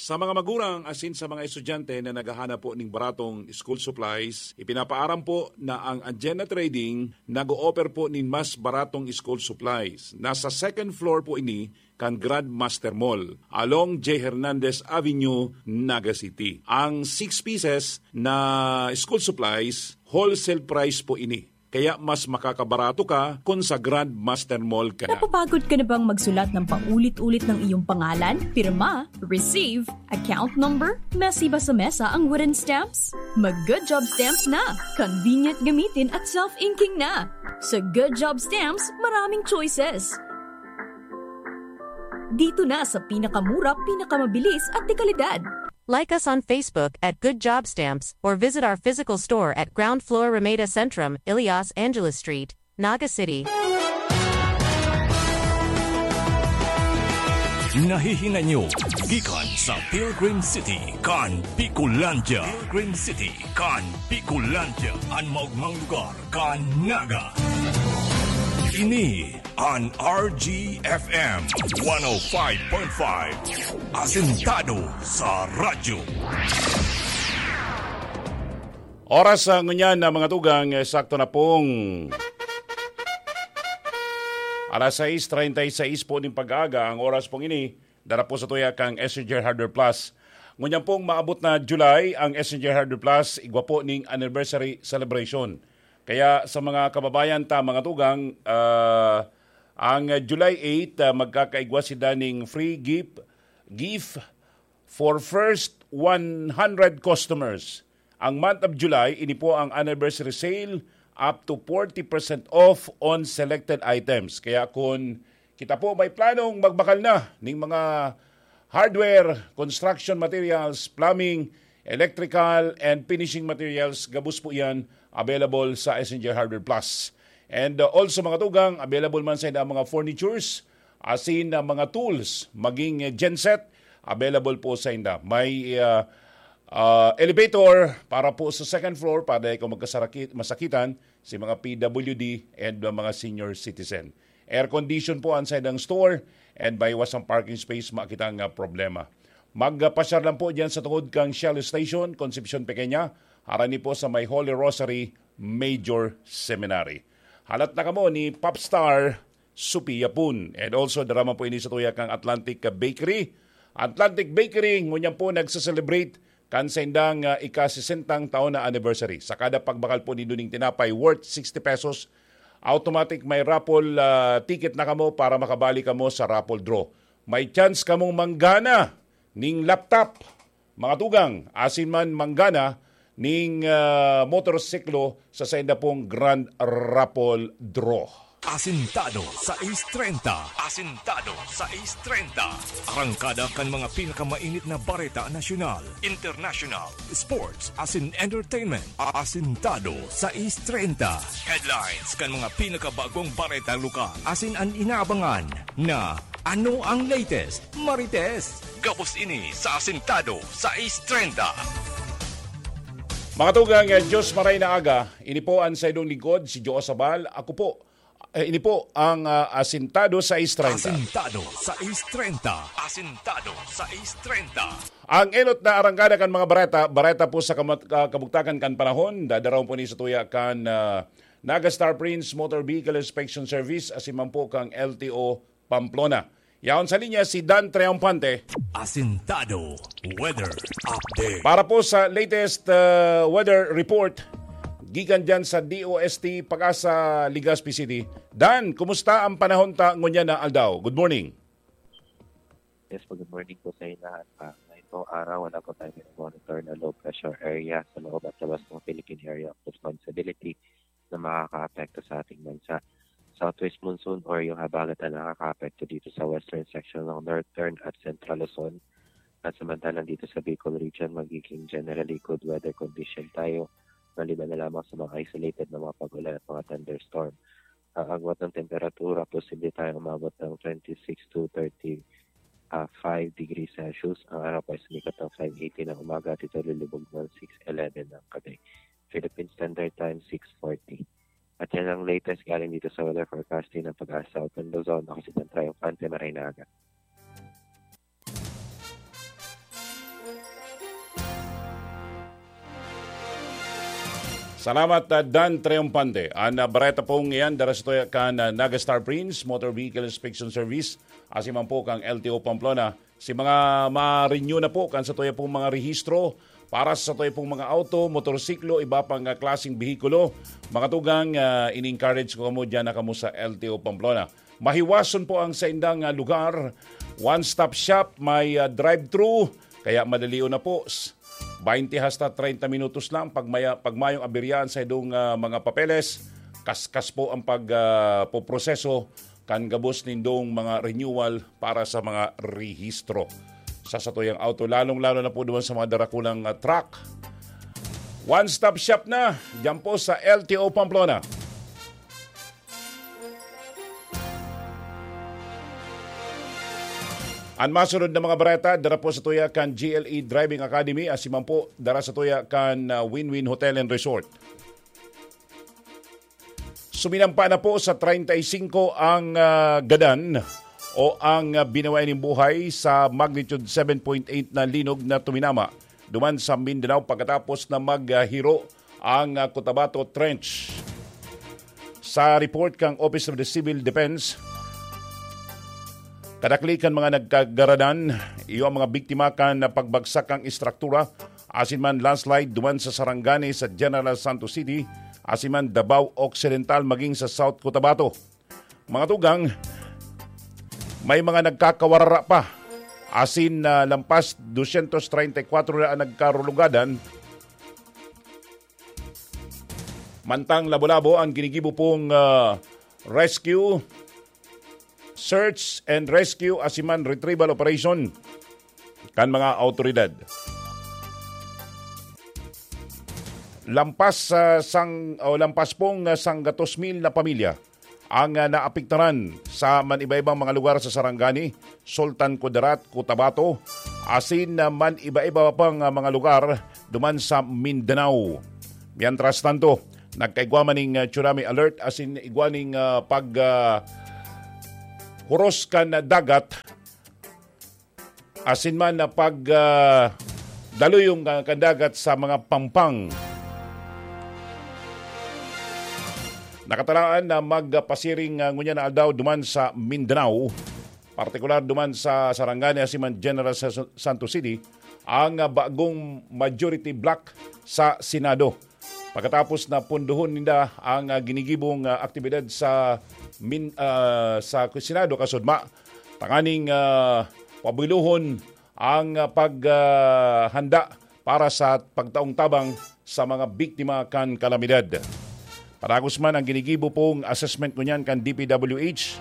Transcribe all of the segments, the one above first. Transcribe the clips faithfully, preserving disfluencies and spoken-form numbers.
Sa mga magurang asin sa mga estudyante na naghahanap po ning baratong school supplies, ipinapaaram po na ang Agenda Trading nag-o-offer po nin mas baratong school supplies. Nasa second floor po ini kan Grandmaster Mall, along J. Hernandez Avenue, Naga City. Ang six pieces na school supplies, wholesale price po ini. Kaya mas makakabarato ka kun sa Grandmaster Mall ka na. Napapagod ka na bang magsulat ng paulit-ulit ng iyong pangalan, pirma, receive, account number? Messy ba sa mesa ang wooden stamps? Mag Good Job Stamps na! Convenient gamitin at self-inking na! Sa Good Job Stamps, maraming choices. Dito na sa pinakamura, pinakamabilis at dekalidad. Like us on Facebook at Good Job Stamps or visit our physical store at ground floor Ramada Centrum, Ilias Angeles Street, Naga City. Nahihinay nyo gikan sa Pilgrim City kan Bicolandia. Pilgrim City kan Bicolandia, an maogmang lugar kan Naga. Ini an R G F M one oh five point five, Asentado sa Radyo. Oras, ah, ngunyan na mga tugang, eh, sakto na pong alas sais treinta y seis po nin pag-aaga. Ang oras pong ini, dara po sa tuya kang S N G Hardware Plus. Ngunyan pong maabot na July ang S N G Hardware Plus, igwa po ning anniversary celebration. Kaya sa mga kababayan ta, mga tugang, ah, ang July eight, ah, magkakaigwa sila ning free gift, gift for first one hundred customers. Ang month of July, ini po ang anniversary sale, up to forty percent off on selected items. Kaya kun kita po may planong magbakal na ning mga hardware, construction materials, plumbing, electrical, and finishing materials, gabos po yan available sa S N G Hardware Plus. And, uh, also, mga tugang, available man sa inda ang mga furnitures, asin ang mga tools, maging, eh, genset, available po sa inda. May, uh, uh, elevator para po sa second floor, para di kayo magkasaraki-, masakitan, si mga P W D and, uh, mga senior citizen. Air condition po ang sa indang store, and may iwas ang parking space, makita nga problema. Magpasyar lang po dyan sa tungod kang Shell Station, Concepcion Pequeña, harani po sa may Holy Rosary Major Seminary. Halat na kamo ni Popstar Sophia Pun. And also, dara man po ini sa tuya kang Atlantic Bakery. Atlantic Bakery, ngunyan po nagse-celebrate kan saindang, ah, ika-sesentang taon na anniversary. Sa kada pagbakal po nindo ning tinapay worth sixty pesos, automatic may raffle, ah, ticket na kamo para makabali kamo sa raffle draw. May chance kamong manggana ning laptop, mga tugang, asin man manggana ning, ah, motorsiklo sa sainda pong Grand Raffle Draw. Asintado sais treinta. Asintado sais treinta. Arangkada kan mga pinakamainit na bareta nasyonal, international, sports, asin entertainment. Asintado sais treinta. Headlines kan mga pinakabagong bareta lokal. Asin an inaabangan na ano ang latest, Marites? Gabos ini sa Asintado sais treinta. Mga tugang, eh, Diyos maray na aga, ini po ang saidong lingkod, si Joe Sabal. Ako po, eh, ini po ang, ah, Asintado sais treinta. Asintado sais treinta. Asintado sais treinta. Ang enot na arangkada kan mga bareta, bareta po sa kamat-, ka-, kabugtakan kan panahon, dadarawon po ni sa tuya kan, ah, Naga Star Prince Motor Vehicle Inspection Service, asin man po kang L T O Pamplona. Yaon sa linya si Dan Triomphante. Asintado Weather Update. Para po sa latest, uh, weather report, gikan dyan sa D O S T Pag-asa, Legazpi City. Dan, kumusta ang panahon ta ngunyan na aldaw? Good morning. Yes po, good morning po sa inyo lahat. Ah, ngayong araw, wala po tayong monitor na low pressure area sa loob at labas ng Philippine Area of Responsibility na makakaapekto sa ating bansa. Southwest monsoon or yung habagat na nakakaapekto dito sa western section ng northern at central Luzon. At samantalang dito sa Bicol region, magiging generally good weather condition tayo, maliban na lamang sa mga isolated na mga pag-ulan at mga thunderstorm. Ang agwat ng temperatura, posible tayong umabot ng twenty-six to thirty, ah, five degrees Celsius. Ang araw po ay sumikat ng five eighty ng umaga at ito lulubog ng six eleven ng gabi. Philippine Standard Time, six forty. At yan ang latest galing dito sa weather forecasting ng Pag-asa Southern Luzon. Ako si Dan Triumphante, maray na aga. Salamat, ah, Dan Triumpante. An, ah, bareta pong iyan, dara sa tuya kan, ah, Naga Star Prince, Motor Vehicle Inspection Service, asin man po kang L T O Pamplona. Si mga ma-renew na po kan sa tuya pong mga rehistro para sa tuya pong mga auto, motorsiklo, iba pang, ah, klaseng behikulo. Mga tugang, ah, in-encourage ko kamo, dyan na kamo sa L T O Pamplona. Mahiwason po ang saindang, ah, lugar. One-stop shop, may, ah, drive-thru, kaya madalion na po. S-, twenty hasta treinta minutos lang. Pag maya-, pag mayong aberyaan sa idong, ah, mga papeles, kaskas po ang pag, ah, poproseso kan gabos nindong mga renewal para sa mga rehistro. Sa satuyang auto, lalong-lalo na po duman sa mga darakulang, ah, truck. One-stop shop na, dyan po sa L T O Pamplona. An masunod na mga bareta, dara po sa tuya kan G L E Driving Academy, asin man po, dara sa tuya kan, ah, Win-Win Hotel and Resort. Suminampa na po sa treinta y cinco ang, ah, gadan o ang, ah, binawayan nin buhay sa magnitude seven point eight na linog na tuminama duman sa Mindanao pagkatapos na maghiro ang, ah, Cotabato Trench. Sa report kang Office of the Civil Defense, kadakli kan mga nagkagaradan, iyo ang mga biktima kan pagbagsak kan estruktura asin man landslide duman sa Sarangani sa General Santos City, asin man Davao Occidental maging sa South Cotabato. Mga tugang, may mga nagkakawarara pa, asin na lampas dosyentos treinta y kwatro na ang nagkarulugadan. Mantang labo-labo ang ginigibo pong, ah, rescue, search and rescue asin man retrieval operation kan mga awtoridad. Lampas sa sang-, o lampas pong, ah, sanggatos mil na pamilya ang, ah, naapektaran sa man iba-ibang mga lugar sa Sarangani, Sultan Kudarat, Cotabato, asin, ah, man iba-iba pang, ah, mga lugar duman sa Mindanao. Mientras tanto, nagkaigwa man ning, ah, tsunami alert asin igwa ning, ah, pag, ah, huros kan dagat asin man na pag, ah, daluyong ka-, kan dagat sa mga pampang. Nakatalaan na magpasiring, ah, ngunyan na aldaw duman sa Mindanao, partikular duman sa Sarangani asin man General Sa-, Santos City, ang, ah, bagong majority bloc sa Senado. Pagkatapos na pundohon ninda ang, ah, ginigibong, ah, aktibidad sa min-, ah, sa Senado kasudma, tanganing, ah, pabulohon ang, ah, pag, ah, handa para sa pagtaong tabang sa mga biktima kan kalamidad. Padagos man ang ginigibo pong assessment ngunyan kan D P W H,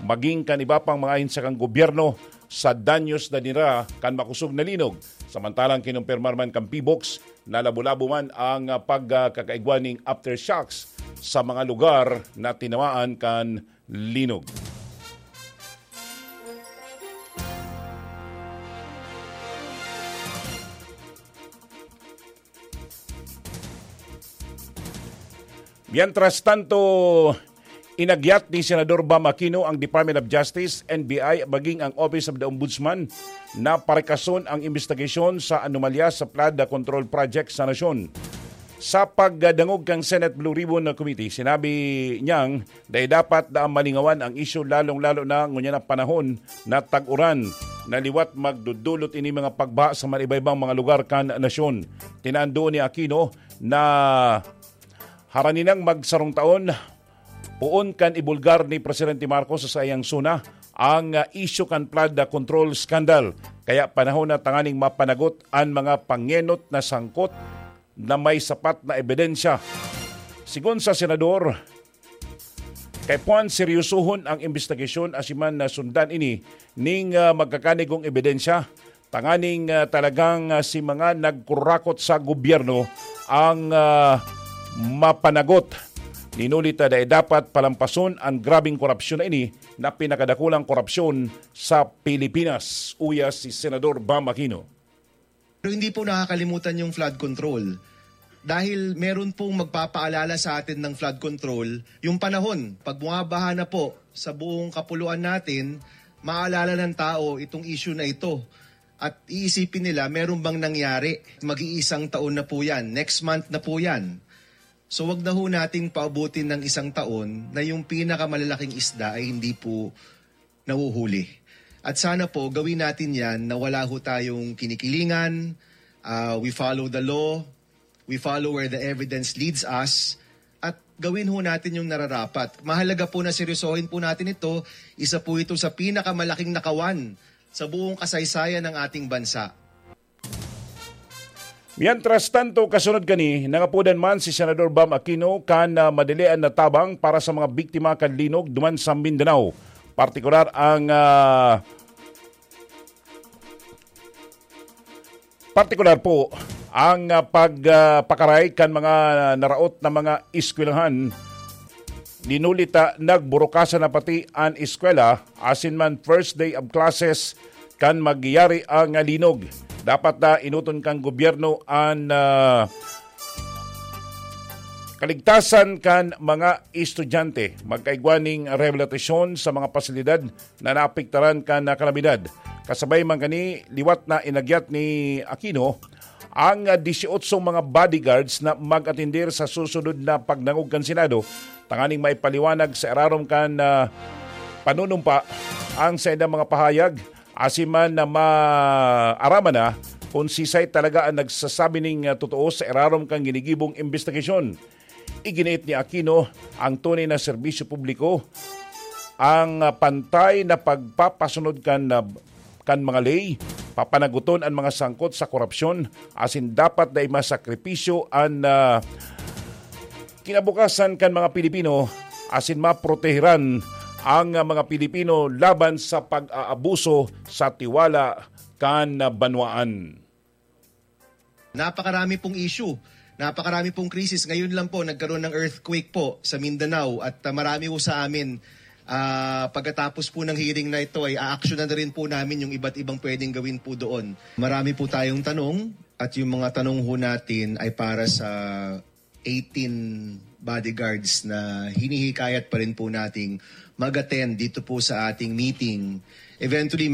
maging kan iba pang mga ahensya kan gobyerno sa danyos na dinara kan makosog na linog. Samantalang kinumpirmar man kan PHIVOLCS na labo-labo man ang, ah, pagkakaigwa ning aftershocks sa mga lugar na tinamaan kan linog. Mientras tanto, inagyat ni Senador Bam Aquino ang Department of Justice, N B I, maging ang Office of the Ombudsman na parikason ang imbestigasyon sa anomalya sa flood control project sa nasyon. Sa pagdangog kan Senate Blue Ribbon na Committee, sinabi niyang dai dapat na malingawan ang isyu, lalong-lalo na ngunyan na panahon na tag-uran na liwat magdudulot ini mga pagbaha sa man iba-ibang mga lugar kan nasyon. Tinando ni Aquino na harani nang magsarong taon, poon kan ibulgar ni Presidente Marcos sa saiyang SONA ang, ah, isyu kan flood control scandal. Kaya panahon na tanganing mapanagot an mga pangenot na sangkot na may sapat na ebidensya. Sigon sa Senador, kaipuhan seryosohon ang imbestigasyon asin man na sundan ini ning, ah, magkakanigong ebidensya tanganing, ah, talagang, ah, si mga nagkurakot sa gobyerno ang, ah, mapanagot. Ninulit na dai dapat palampason ang grabing korupsyon na ini na pinakadakulang korupsyon sa Pilipinas, uya si Senador Bam Aquino. Pero hindi po nakakalimutan yung flood control. Dahil meron pong magpapaalala sa atin ng flood control, yung panahon, pag bumabaha na po sa buong kapuluan natin, maalala ng tao itong issue na ito. At iisipin nila, meron bang nangyari? Mag-iisang taon na po yan. Next month na po yan. So, wag na ho nating paabutin ng isang taon na yung pinakamalalaking isda ay hindi po nahuhuli. At sana po, gawin natin yan na wala ho tayong kinikilingan, ah, we follow the law, we follow where the evidence leads us, at gawin ho natin yung nararapat. Mahalaga po na seryosohin po natin ito. Isa po ito sa pinakamalaking nakawan sa buong kasaysayan ng ating bansa. Mientras tanto, kasunod kani, nangapodan man si Senador Bam Aquino kan ah, madalian na tabang para sa mga biktima kan linog duman sa Mindanao. Partikular ang ah, partikular po ang ah, pagpakaray kan mga naraot na mga eskwelahan. Linulita nagburukasan na pati an eskwela, asin man first day of classes kan magyari ang linog. Dapat na inuton kan gobyerno an ah, kaligtasan kan mga estudyante. Magkaigwa ning rehabilitasyon sa mga pasilidad na naapektaran kan ah, kalamidad. Kasabay man kani, liwat na inagyat ni Aquino ang ah, dieciocho mga bodyguards na mag-atendir sa susunod na pagdangog kan Senado tanganing maipaliwanag sa irarom kan ah, panunumpa ang saindang mga pahayag, asin man na maaraman na kung sisay talaga ang nagsasabi ning ah, totoo sa irarom kan ginigibong imbestigasyon. Iginiit ni Aquino ang tunay na serbisyo publiko, ang ah, pantay na pagpapasunod kan ah, kan mga ley, papanaguton an mga sangkot sa korupsyon, asin dapat na imasakripisyo an ah, kinabukasan kan mga Pilipino, asin maprotehiran ang ah, mga Pilipino laban sa pag-aabuso sa tiwala kan ah, banwaan. Napakarami pong issue, napakarami pong krisis. Ngayon lang po, nagkaroon ng earthquake po sa Mindanao at ah, marami po sa amin, ah, pagkatapos po ng hearing na ito ay aaksyonan na rin po namin yung iba't ibang pwedeng gawin po doon. Marami po tayong tanong at yung mga tanong ho natin ay para sa eighteen bodyguards na hinihikayat pa rin po nating mag-attend dito po sa ating meeting. Eventually,